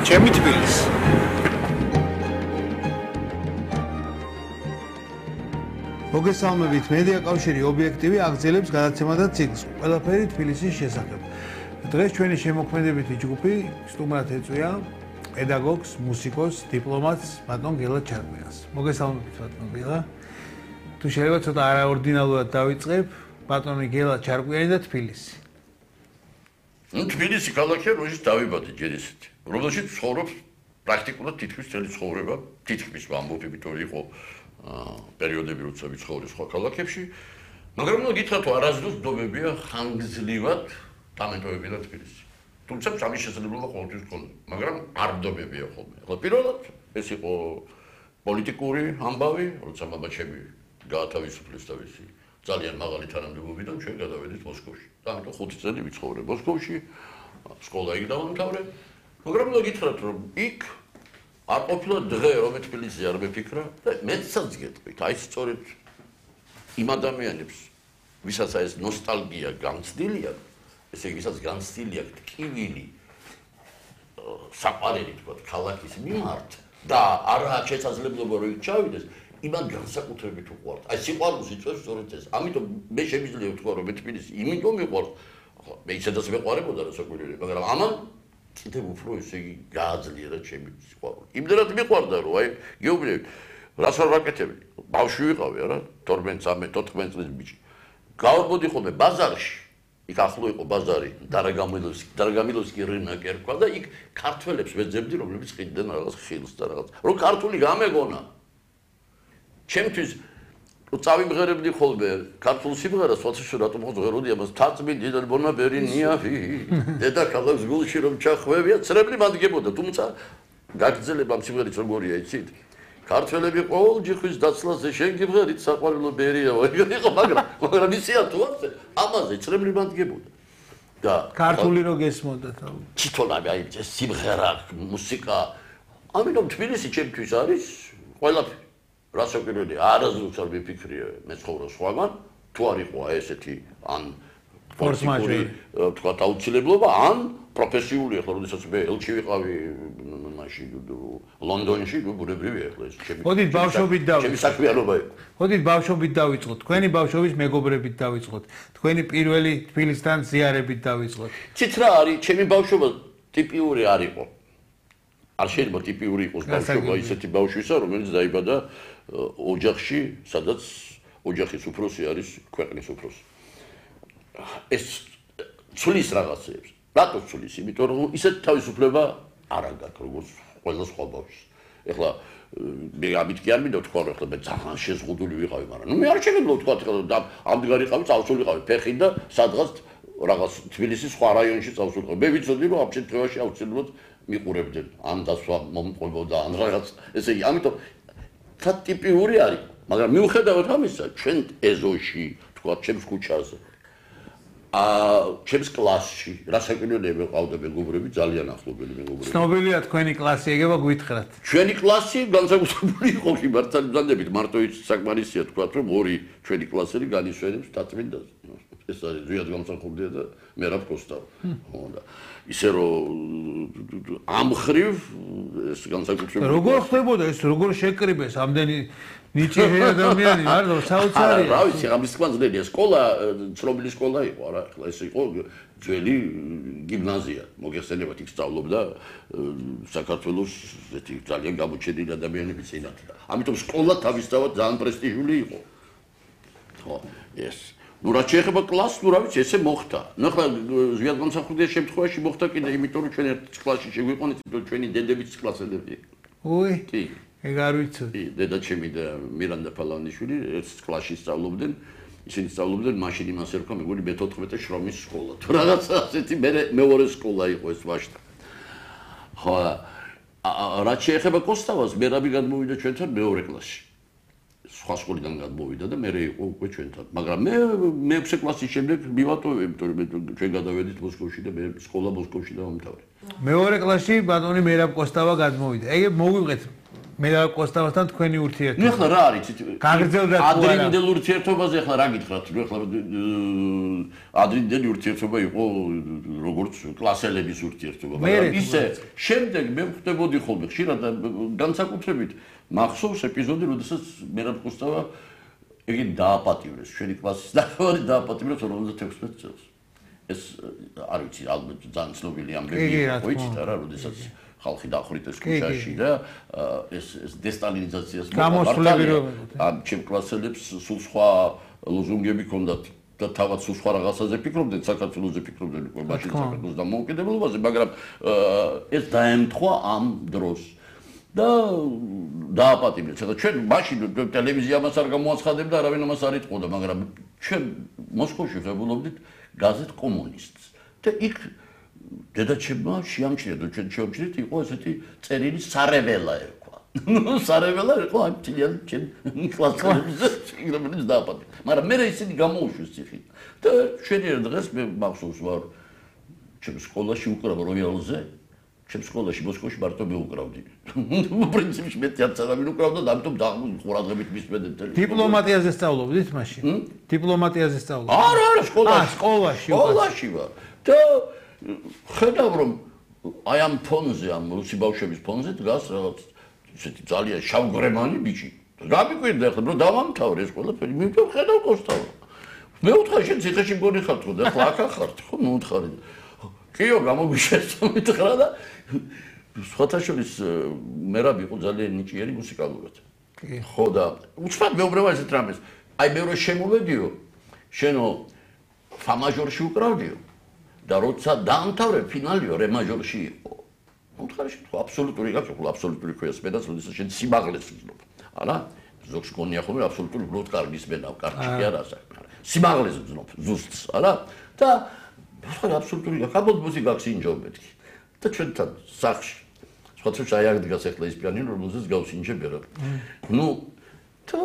ჩემი თბილისი. მოგესალმებით, მედია კავშირი ობიექტივი აგრძელებს გადაცემა და ციკლს ყველაფერი თბილისის შესახებ. დღეს ჩვენი შემოქმედებითი ჯგუფი სტუმრად ეწვია პედაგოგს, მუსიკოს, დიპლომატს ბატონ გელა ჩარკვიანს. მოგესალმებით ბატონ გელა. თუ შეიძლება ცოტა არაორდინალურად დავიწყებ, ბატონი გელა ჩარკვიანი და თბილისი. თბილისი ქალაქია, რომელშიც დავიბადე ჯერ ისეთი. რომელშიც ცხოვრობს პრაქტიკულად თითქმის წელი ცხოვრება, თითქმის ამბობ, იმიტომ რომ იყო პერიოდები, როცა ვიცხოვრე სხვა ქალაქებში, მაგრამ ნუ გითხრათ, არასდროს დომებია ხანგრძლივად დამეტოვებინა თბილისი. თუმცა სამი შესაძლებლობა ყოველთვის ჰქონდა, მაგრამ არ დომებია ხოლმე. ახლა პირველად ეს იყო პოლიტიკური ამბავი, როცა მამაჩემი გაათავისუფლეს თავისი ძალიან მაღალი თანამდებობიდან, ჩვენ გადავედით მოსკოვში. და ამიტომ 5 წელი ვიცხოვრე მოსკოვში, სკოლა იქ დავამთავრე, მაგრამ ნუ გითხრათ, რომ იქ არ ყოფილა დღე, რომ თბილისი არ მეფიქრა და მეცაც გეტყვით, აი სწორედ იმ ადამიანებს, ვისაც ეს ნოსტალგია განცდილი აქვს, ესე იგი, ვისაც განცდილი აქვს ტკივილი საყვარელი თქვათ ქალაქის მიმართ და არა შესაძლებლობა რომ იქ ჩავიდეს, იმან განსაკუთრებით უყვართ. აი სიყვარულს იწვევს სწორედ ეს. ამიტომ მე შემიძლია ვთქვა, რომ თბილისი იმიტომ მიყვარს, მე ისედაც მეყვარებოდა რა საკვირველია, მაგრამ ამან კიდევ უფრო ესე იგი გააძლიერა ჩემი სიყვარული. იმდენად მიყვარდა, რომ აი გეუბნები, რას არ ვაკეთებდი? ბავშვი ვიყავი არა, 12, 13, 14 წლის ბიჭი. გავამოდი ხოლმე ბაზარში. იქ ახლო იყო ბაზარი, დარაგამილოვსკი რინაკ ერქვა და იქ ქართველებს ვეძებდი, რომლებიც ყიდნენ რაღაც ხილს და რაღაც. რომ ქართული გამეგონა. ჩემთვის წავიმღერებდი ხოლმე ქართულ სიმღერას, ვაცი რატომ ხოღეროდი ამას თაწმინდი და ბონაბერი ნიავი დედაქალაქს გულში რომ ჩახვევია ცრემლი მადგებოდა, თუმცა გაგრძელება ამ სიმღერის როგორია იცით? ქართველები ყოველ ჯიხვის დაცლაზე შენ გიმღერით საყვარელო ბერია იყო, მაგრამ ისია თუ ასე ამაზე ცრემლი მადგებოდა. და ქართული რო გესმოდა თავი. თვითონავე აი ეს სიმღერა, მუსიკა, ამიტომ თბილისი ჩემთვის არის ყველაფერი. რასაკვირველია, არასდროს არ ვიფიქრია მე ცხოვრობ სხვაგან, თუ არ იყო ესეთი ან ფორს-მაჟორი, თქვა აუცილებლობა, ან პროფესიული, ახლა როდესაც მე ელჩი ვიყავი მაშინ ლონდონში, ბუნებრივია ახლა ეს ჩემი. მოდით ბავშვობით დავიწყოთ. ჩემი საქმიანობა იყო. მოდით ბავშვობით დავიწყოთ. თქვენი ბავშვობის მეგობრებით დავიწყოთ. თქვენი პირველი თბილისთან ზიარებით დავიწყოთ. ცით რა არის, ჩემი ბავშვობა ტიპიური არ იყო. არ შეიძლება ტიპიური იყოს ბავშვობა ისეთი ბავშვისა, რომელიც დაიბადა ოჯახში, სადაც ოჯახის უფროსი არის ქვეყნის უფროსი. ეს ცulis რაღაცებს. რატო ცulis? იმიტომ რომ ისეთი თავისუფლება არ აქვს, როგორც ყველა სხვა ბავშვს. ეხლა მე ამით კი არ მინდა თქვა, რომ ეხლა მე ძალიან შეზღუდული ვიყავი, მაგრამ ნუ მე არ შეიძლება თქვა, ეხლა ამდღარიყავი, წავსულიყავი ფეხით და სადღაც რაღაც თბილისის სხვა რაიონში წავსულიყავი. მე ვიცოდი, რომ ამ შემთხვევაში აუცილებლად მიყურებდნენ, ან დასვა მომყოლბოდა, ან რაღაც, ესე იგი, ამიტომ და ტიპიური არის, მაგრამ მიუხედავად ამისა, ჩვენ ეზოში, თქვა, ჩემს ქუჩაზე, ჩემს კლასში, რასაკვირველია მეყავდა მეგობრები, ძალიან ახლობელი მეგობრები. ცნობილია თქვენი კლასი, ეგება გვითხრათ. ჩვენი კლასი განსაკუთრებული იყო მართალდანებით, მარტო ის საკმარისია თქვა, რომ ორი ჩვენი კლასელი განისვენებს თაწმინდას. ეს არის ზვიად გამსახურდია და მერაბ კოსტავ. ხო და ისე რომ ამ ხრივ ეს განსაკუთრებული როგორ ხდებოდა ეს, როგორ შეკრიბეს ამდენი ნიჭიერი ადამიანი, მარტო საოცარია. რა ვიცი, ამის თქმანძნელია, სკოლა, ცნობილი სკოლა იყო რა, ახლა ეს იყო ძველი გიმნაზია, მოგეხსენებათ, იქ სწავლობდა საქართველოს ესეთი ძალიან გამოჩენილი ადამიანები წინათ. ამიტომ სკოლა თავისთავად ძალიან პრესტიჟული იყო. ხო, ეს ნუ რა შეეხება კლასს, ნუ რა ვიცი, ესე მოხდა. ნუ ახლა ზვიად გამსახურდია შემთხვევაში მოხდა კიდე, იმიტომ რომ ჩვენ ერთ კლასში შეგვიყვანეთ, რომ ჩვენი დედებიც კლასელები. უი. კი. ეგ არ ვიცოდი. კი, დედა ჩემი და მირანდა ფალავნიშვილი ერთ კლასში სწავლობდნენ. ისინი სწავლობდნენ, მაშინ იმას ერქვა, მეგონი მე-14 შრომის სკოლა. თუ რაღაცა ასეთი მეორე სკოლა იყო ეს ვაშტა. ხო, რაც შეეხება კოსტავას, მერაბი გადმოვიდა ჩვენთან მეორე კლასში. სხვა სკოლიდან გადმოვიდა და მე იყო უკვე ჩვენთან. მაგრამ მე 6 კლასის შემდეგ მივატოვე, იმიტომ რომ ჩვენ გადავედით მოსკოვში და მე სკოლა მოსკოვში დავამთავრე. მეორე კლასში ბატონი მერაბ კოსტავა გადმოვიდა. ეგ მოვივღეთ მე და კოსტავასთან თქვენი ურთიერთობა. ნუ ახლა რა არის? გაგრძელდა თუ არა? ადრინდელ ურთიერთობაზე ახლა რა გითხრათ? ნუ ახლა ადრინდელი ურთიერთობა იყო როგორც კლასელების ურთიერთობა, მაგრამ ისე შემდეგ მე ვხვდებოდი ხოლმე ხშირად განსაკუთრებით მახსოვს ეპიზოდი, როდესაც მერაბ კოსტავა იგი დააპატიმრეს, ჩვენი კლასის ნახევარი დააპატიმრეს 56 წელს. ეს არ ვიცი, ალბათ ძალიან ცნობილი ამბები იყო, იცით რა, როდესაც ხალხი დახვრიტეს ქუჩაში და ეს დესტალინიზაციას გამოსვლები ამ ჩემ კლასელებს სულ სხვა ლოზუნგები ჰქონდათ და თავად სულ სხვა რაღაცაზე ფიქრობდნენ, საქართველოზე ფიქრობდნენ უკვე მაშინ საქართველოს დამოუკიდებლობაზე, მაგრამ ეს დაემთხვა ამ დროს და დააპატიმრეს. ჩვენ მაშინ ტელევიზია ამას არ გამოაცხადებდა, არავინ ამას არ იტყოდა, მაგრამ ჩვენ მოსკოვში ღებულობდით გაზეთ კომუნისტს და იქ დედაჩემმა შეამჩნია და ჩვენ შევამჩნიეთ იყო ესეთი წერილი სარეველა ერქვა. ნუ სარეველა იყო ამ თლიან ჩვენ კლასელებზე რომელიც დააპატიმრეს. მაგრამ მე ისინი გამოუშვეს ციხით და შენიერ დღეს მე მახსოვს ვარ ჩემ სკოლაში უკრავ როიალზე ჩემ სკოლაში მოსკოვში მარტო მე უკრავდი. პრინციპში მე არც არავინ უკრავდა და ამიტომ ყურადღებით მისმენდეთ თელი. დიპლომატიაზე სწავლობდით მაშინ? დიპლომატიაზე სწავლობდით? არა, სკოლაში. სკოლაში ვარ. და ხედავ რომ აი ამ ფონზე, ამ რუსი ბავშვების ფონზე დგას რაღაც ისეთი ძალიან შავგრემანი ბიჭი. რა მიკვირდა ახლა, რომ დავამთავრე ეს ყველაფერი, მე ხედავ კოსტავა. მე ვუთხარ შენ ციხეში მგონი ხარ თქო და ახლა აქ ხართ ხო ნუ უთხარი. კიო გამოგვიშეცო მითხრა და სხვათა შორის მერაბ იყო ძალიან ნიჭიერი მუსიკალურად. ხო და უცბად მეუბნება ესეთ რამეს. აი მე რო შემოვედიო, შენო ფა მაჟორში უკრავდიო და როცა დაამთავრე ფინალიო რე მაჟორში იყო. უთხარი შენ ხო აბსოლუტური გაკეთო, აბსოლუტური ქვია სპედას, როდესაც შენ სიმაღლეს ვზნობ. არა? ზოგს გონია ხოლმე აბსოლუტური უბრალოდ კარგი სპედა, კარგი კი არა საქმე. სიმაღლეს ვზნობ, ზუსტს, არა? და ხო აბსოლუტური გაკაბოდ მუსიკას ინჯობ მეთქი. და ჩვენთან სახში სხვათა აი აქ დგას ახლა ის პიანინო, რომელზეც გავსინჯები რა. ნუ და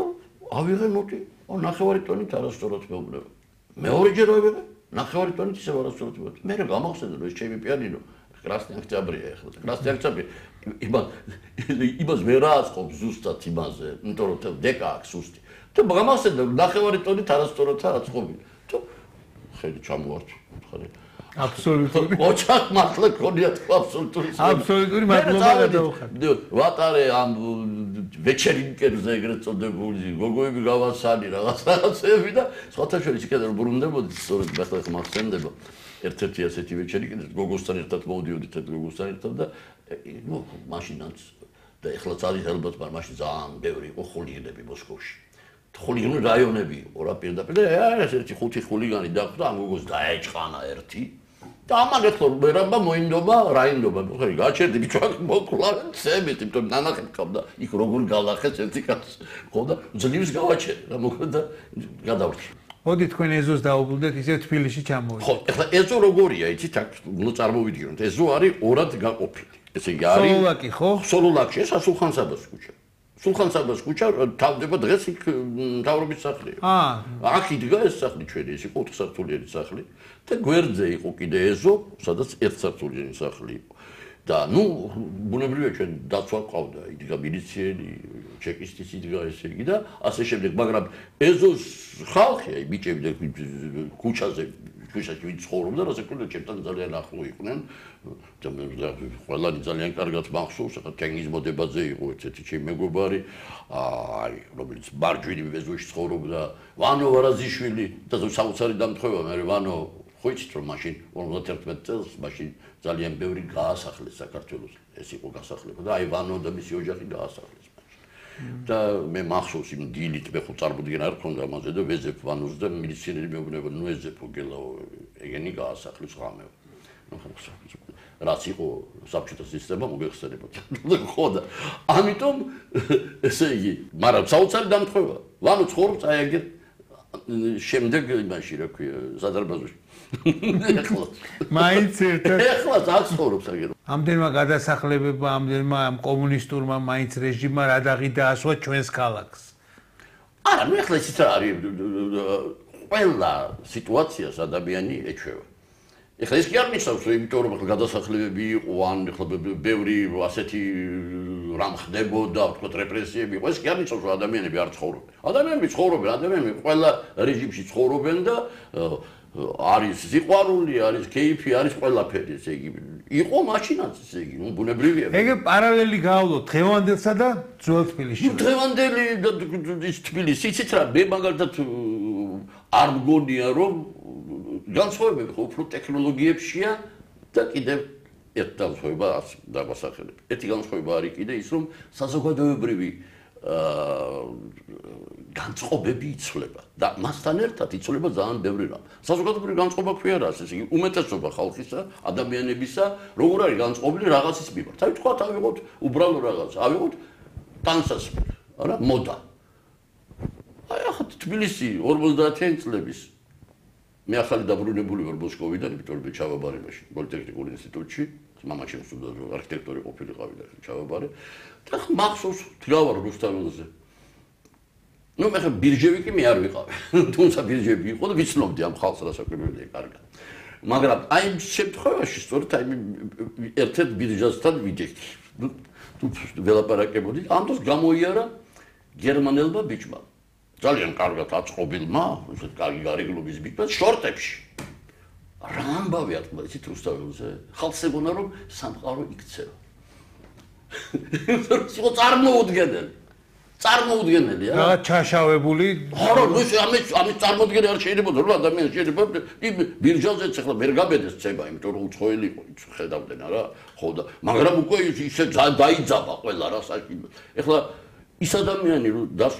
ავიღე ნოტი, ნახევარი ტონით არასწორად მეუბნება. მეორეჯერ ავიღე, ნახევარი ტონით ისევ არასწორად მეუბნება. მე რა გამახსენდა რომ ეს ჩემი პიანინო Красный Октябрь ახლა. Красный Октябрь იმას ვერ აწყობს ზუსტად იმაზე, იმიტომ რომ დეკა აქვს სუსტი. და გამახსენდა ნახევარი ტონით არასწორად აწყობი. და ხელი ჩამოვართ, ხარი. აბსოლუტური. ოჩახ მართლა გქონია თქვა აბსოლუტური. აბსოლუტური მადლობა გადავხარ. ვატარე ამ ვეჩერინკებზე ეგრეთ წოდებული გოგოები გავასალი რაღაცები და სხვათა შორის იქიდან ბრუნდებოდი სწორედ ახლა ხმახსენდება. ერთ-ერთი ასეთი ვეჩერინკი გოგოსთან ერთად მოვდიოდით გოგოსთან ერთად და ნუ მაშინაც და ეხლა ძალიან ალბათ მაშინ ძალიან ბევრი იყო ხულიგანები მოსკოვში. ხულიგანი რაიონები იყო რა პირდაპირ და ესეთი ხუთი ხულიგანი დახვდა ამ გოგოს დაეჭყანა ერთი და ამან ეხლა მერაბა მოინდობა რაინდობა ხარი გაჩერდი ბიჭაკ მოკლავენ ცემით იმიტომ ნანახი მქონდა იქ როგორ გალახეს ერთი კაცს ხო და ძლივს გავაჩერე რა მოხდა გადავრჩი. მოდი თქვენ ეზოს დაუბრუნდეთ ისე თბილისში ჩამოვიდეთ. ხო ეხლა ეზო როგორია იცით აქ ნუ წარმოვიდგინოთ ეზო არის ორად გაყოფილი. ესე იგი არის სოლოლაკი ხო? სოლოლაკში ეს სულხან-საბას ქუჩა. სულხან-საბას ქუჩა თავდება დღეს იქ მთავრობის სახლია. აქ იდგა ეს სახლი ჩვენი ეს იყო 4 სართულიანი სახლი და გვერდზე იყო კიდე ეზო, სადაც 1 სართულიანი სახლი იყო. და ნუ ბუნებრივია ჩვენ დაცვა ყავდა, იდგა მილიციელი, ჩეკისტის იდგა ესე იგი და ასე შემდეგ, მაგრამ ეზოს ხალხი, აი ბიჭები და ქუჩაზე ქუჩაში ვინც ცხოვრობდა, ასე ვთქვათ, ჩემთან ძალიან ახლო იყვნენ. და მე ყველანი ძალიან კარგად მახსოვს, ახლა თენგიზ მოდებაძე იყო ერთ-ერთი ჩემი მეგობარი, აი, რომელიც მარჯვინი ეზოში ცხოვრობდა, ვანო ვარაზიშვილი და საოცარი დამთხოვა, მე ვანო ხო იცით რომ მაშინ 51 წელს მაშინ ძალიან ბევრი გაასახლეს საქართველოს. ეს იყო გასახლება და აი ვანო და მისი ოჯახი გაასახლეს მაშინ. და მე მახსოვს იმ დილით მე ხო წარმოდგენა არ ქონდა ამაზე და ვეზებ ვანოს და მილიციანერი მეუბნება ნუ ეზეფო გელაო ეგენი გაასახლეს ღამე. ნუ რაც იყო საბჭოთა სისტემა მოგეხსენებათ. ხო და ამიტომ ესე იგი, მაგრამ საოცარი დამთხოვა. ვანო ცხოვრობს აი ეგეთ შემდეგ იმაში რა ქვია სადარბაზოში. მაინც ერთად ეხლა აღსწორებს აგერ. ამდენმა გადასახლებებმა, ამდენმა ამ კომუნისტურმა მაინც რეჟიმმა რა დაღიდაასვა ჩვენს ქალაქს. არა, ნუ ეხლა ისიც არის ყველა სიტუაციას ადამიანი ეჩვევა. ეხლა ეს კი არ ნიშნავს, რომ იმიტომ რომ გადასახლებები იყო, ან ეხლა ბევრი ასეთი რამ ხდებოდა, ვთქვათ, რეპრესიები იყო, ეს კი არ ნიშნავს, რომ ადამიანები არ ცხოვრობენ. ადამიანები ცხოვრობენ, ადამიანები ყველა რეჟიმში ცხოვრობენ და არის სიყვარული, არის კეიფი, არის ყველაფერი, ესე იგი. იყო მაშინაც, ესე იგი, ბუნებრივია. ეგ პარალელი გავავლოთ დღევანდელსა და ძველ თბილისში. დღევანდელი ის თბილისი, იცით რა, მე მაგალითად არ მგონია, რომ განსხვავებები ხო უფრო ტექნოლოგიებშია და კიდევ ერთ განსხვავება დავასახელებ. ერთი განსხვავება არის კიდე ის, რომ საზოგადოებრივი განწყობები იცვლება და მასთან ერთად იცვლება ძალიან ბევრი რამ. საზოგადოებრივი განწყობა ქვია რა, ესე იგი, უმეტესობა ხალხისა, ადამიანებისა, როგორ არის განწყობილი რაღაცის მიმართ. აი თქვა, ავიღოთ უბრალო რაღაც, ავიღოთ ტანსაცმელი, არა, მოდა. აი ახლა თბილისი 50-იანი წლების მე ახალი დაბრუნებული ვარ მოსკოვიდან, იმიტომ რომ ჩავაბარე მაშინ პოლიტექნიკურ ინსტიტუტში, მამაჩემ სტუდენტი არქიტექტორი ყოფილიყავი და ჩავაბარე. და მახსოვს დგავარ რუსთაველზე. ნუ მე ხა ბირჟევი კი მე არ ვიყავი. თუმცა ბირჟები იყო და ვიცნობდი ამ ხალხს რასაკვირველია კარგად. მაგრამ აი ამ შემთხვევაში სწორედ აი ერთ-ერთ ბირჟასთან ვიდექი. თუ ველაპარაკებოდი, ამ დროს გამოიარა გერმანელმა ბიჭმა. ძალიან კარგად აწყობილმა, ისეთ კარგი გარეგნობის ბიჭმა შორტებში. რა ამბავი ატყდა იცით რუსთაველზე? ხალხს ეგონა რომ სამყარო იქცევა. სულ წარმოუდგენელი. წარმოუდგენელი რა. რა ჩაშავებული. არა, ნუ ამის წარმოუდგენელი არ შეიძლება რომ ადამიანი შეიძლება ბირჟაზეც ახლა ვერ გაბედეს ცება, იმიტომ რომ უცხოელი იყო, ხედავდნენ რა. ხო და მაგრამ უკვე ისე დაიძაბა ყველა რა საჭირო. ახლა ის ადამიანი რომ